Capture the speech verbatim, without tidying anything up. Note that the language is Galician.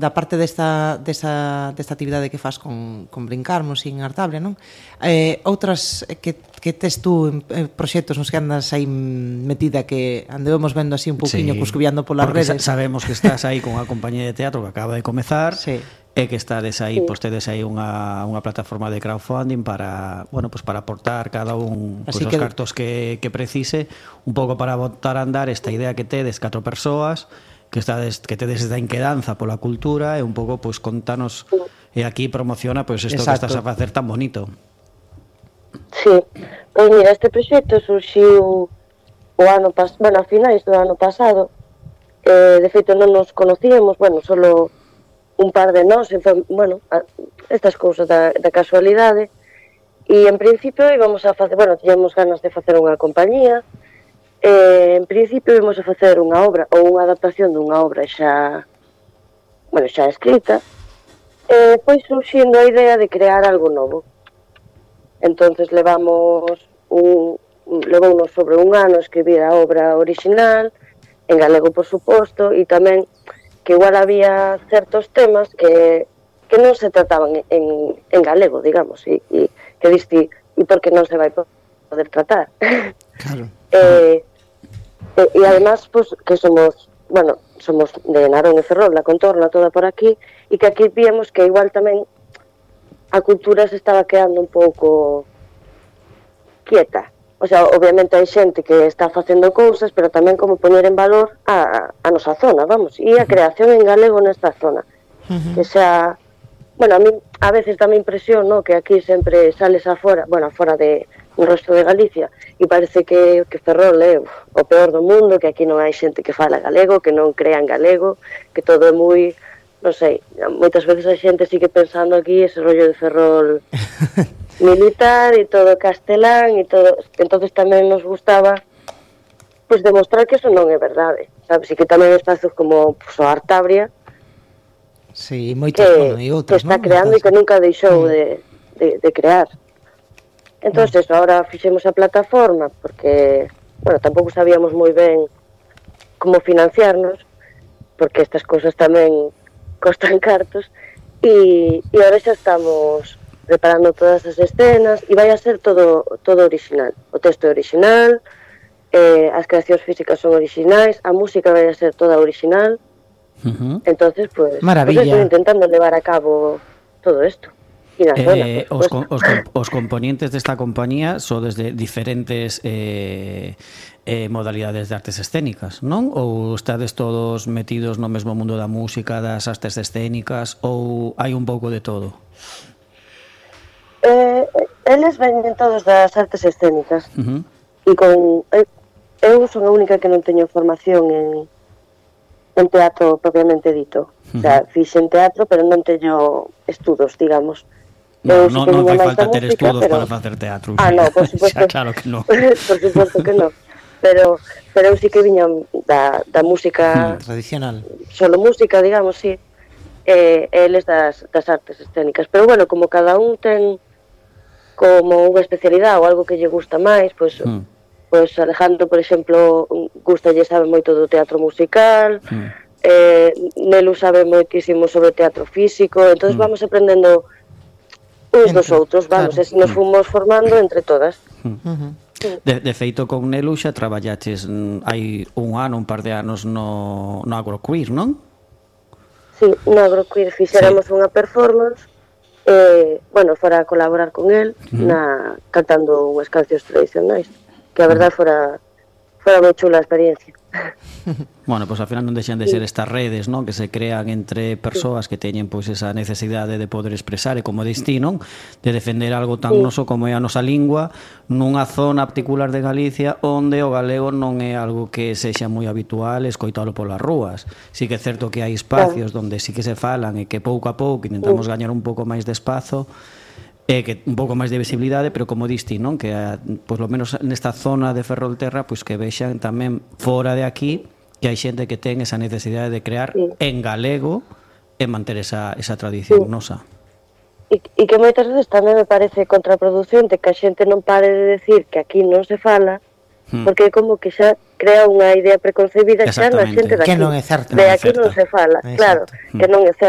da parte desta, desta, desta actividade que fas con, con Brincarmos en Artable, non? Eh, outras que, que tes tú en, en proxectos nos que andas aí metida que andemos vendo así un pouquiño sí, cuscubiando polas redes. Sabemos que estás aí con a compañía de teatro que acaba de comezar. Sí. E que estades aí, sí. Pois tedes aí unha, unha plataforma de crowdfunding para, bueno, pues para aportar cada un pues, os que... cartos que, que precise, un pouco para botar a andar esta idea que tedes catro persoas, que estades que tedes esta inquedanza pola cultura e un pouco pois pues, contanos e aquí promociona pois pues, isto que estás a facer tan bonito. Sí. Pois mira, este proxecto surxiu o ano pas, bueno, a finais do ano pasado. Eh, de feito non nos conocíamos, bueno, solo un par de nós, bueno, estas cousas da, da casualidade, e en principio íbamos a facer, bueno, tiñamos ganas de facer unha compañía, e en principio íbamos a facer unha obra, ou unha adaptación dunha obra xa, bueno, xa escrita, e foi surxindo a idea de crear algo novo. Entonces levamos un, levounos sobre un ano a escribir a obra original, en galego, por suposto, e tamén que igual había certos temas que, que non se trataban en, en galego, digamos, e, e que diste, e por que non se vai poder tratar. Claro. eh, e, e además, pues, que somos, bueno, somos de Narón e Ferrol, la contorna toda por aquí, e que aquí víamos que igual tamén a cultura se estaba quedando un pouco quieta. O sea, obviamente hai xente que está facendo cousas, pero tamén como poñer en valor a, a nosa zona, vamos, e a creación en galego nesta zona. Uh-huh. Que xa, bueno, a mí a veces dá me impresión, no, que aquí sempre sales afora, bueno, afora de un resto de Galicia, e parece que, que Ferrol é o peor do mundo, que aquí non hai xente que fala galego, que non crea en galego, que todo é moi, non sei, moitas veces a xente sigue pensando aquí ese rollo de Ferrol militar e todo castelán e todo, entonces tamén nos gustaba pois demostrar que eso non é verdade, sabes, e que tamén espazos como pues, o Artabria sí, moitas, que, bueno, e outras, que está ¿no? creando e que nunca deixou de, de, de crear. Entonces, eso, ahora fixemos a plataforma porque, bueno, tampouco sabíamos moi ben como financiarnos, porque estas cousas tamén costan cartos, e, e ahora xa estamos preparando todas as escenas e vai a ser todo todo original. O texto é original, eh, as creacións físicas son originais, a música vai a ser toda original. Uh-huh. Entonces, pues, maravilla. Pues, estoy intentando levar a cabo todo isto. Eh, os, os, os componentes desta compañía son desde diferentes eh, eh, modalidades de artes escénicas, non? Ou estades todos metidos no mesmo mundo da música, das artes escénicas, ou hai un pouco de todo? Eh, eles veñen todos das artes escénicas. Uh-huh. E con eu, eu son a única que non teño formación en en teatro propiamente dito. Uh-huh. O sea, fixen teatro, pero non teño estudos, digamos. No, no, non fai falta ter música, estudos pero... para facer teatro. Ah, no, por suposto. Xa, claro que no. Por suposto que no. Pero, pero eu sí que viña da, da música... Hmm, tradicional. Solo música, digamos, sí. E eh, eles das, das artes escénicas. Pero, bueno, como cada un ten como unha especialidade ou algo que lle gusta máis, pois... Hmm. Pois Alejandro, por exemplo, gusta, lle sabe moito do teatro musical... Hmm. Eh, Nelu sabe moitísimo sobre teatro físico, entonces hmm. vamos aprendendo... uns dos outros, vamos, claro. E nos fomos formando entre todas. Uh-huh. De, de feito, con Nelu xa traballaches hai un ano, un par de anos no, no Agroqueer, non? Sí, no Agroqueer fixéramos sí. unha performance, eh, bueno, fora a colaborar con el, uh-huh. na, cantando unhas cancións tradicionais, que a verdade fora, fora moi chula a experiencia. Bueno, pois pues, ao final non deixan de ser estas redes, non, que se crean entre persoas que teñen pois pues, esa necesidade de poder expresar e como distí, non, de defender algo tan sí. noso como é a nosa lingua nunha zona particular de Galicia onde o galego non é algo que sexa moi habitual escoitalo polas rúas. Si que é certo que hai espacios claro. Onde sí que se falan e que pouco a pouco intentamos sí. gañar un pouco máis de espazo e que un pouco máis de visibilidade, pero como diste, non, que pois lo menos nesta zona de Ferrolterra, pois que vexan tamén fora de aquí que hai xente que ten esa necesidade de crear sí. en galego e manter esa, esa tradición sí. nosa. E, e que moitas veces tamén me parece contraproducente que a xente non pare de decir que aquí non se fala, hmm. porque como que xa crea unha idea preconcebida xa na xente daqui. Que non é certo. De aquí non se fala, claro, que non é certo.